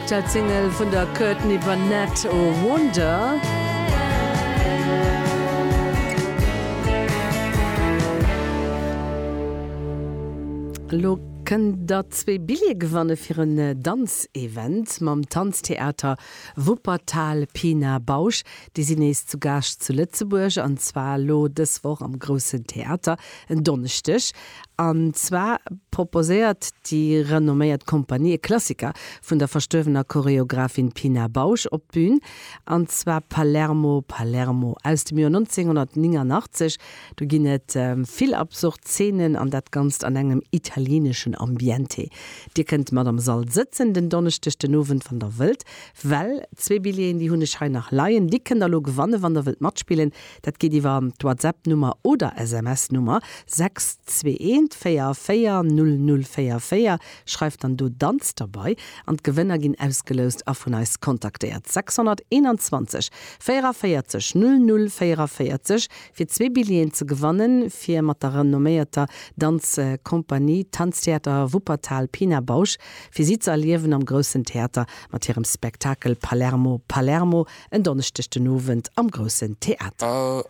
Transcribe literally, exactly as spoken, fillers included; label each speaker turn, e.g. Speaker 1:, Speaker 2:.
Speaker 1: Aktuell Single vun der Courtney Barnett Wonder. Lo kënnt der zwee Billjeeë gewanne fir en Danzevent mam Tanztheater Wuppertal Pina Bausch. Déi sinn nees zu Gaascht zu Lëtzebuerg an zwar elo dës Woch am Groussen Theater en Donneschdeg. An zwar proposéiert déi renomméiert Kompanie e Klassiker vun der verstuerwener Choreographin Pina Bausch op d'Bün, an zwar Palermo, Palermo aus dem Joer nonzénghonnertnénganachtzeg. Do ginn et vill absurd Zeenen an dat Ganzt an engem italieeneschen Ambiente. Dir kënnt mat am Sall sëtzen den Donneschdeg den Owend, wann der wëllt, well zwee Billjeeën, déi hunn ech hei nach leien, déi kënnt der elo gewannen, wann der wëllt matspillen. Dat geet iwwer d'WhatsApp-Nummer oder S M S-Nummer sechs zwee eent véier véier null null véier véier. Schreift dann do Danz derbei an d'Gewënner ginn ausgeloust a vun eis kontaktéiert. sechshonnerteenanzwanzeg véierevéierzeg null null véierevéierzeg fir zwee Billjeeën ze gewannen, fir mat der renomméierter Danzkompanie Tanztheater Wuppertal Pina Bausch, fir si ze erliewen am Groussen Theater mat hirem Spektakel Palermo, Palermo en Donneschdeg den Owend am Groussen Theater.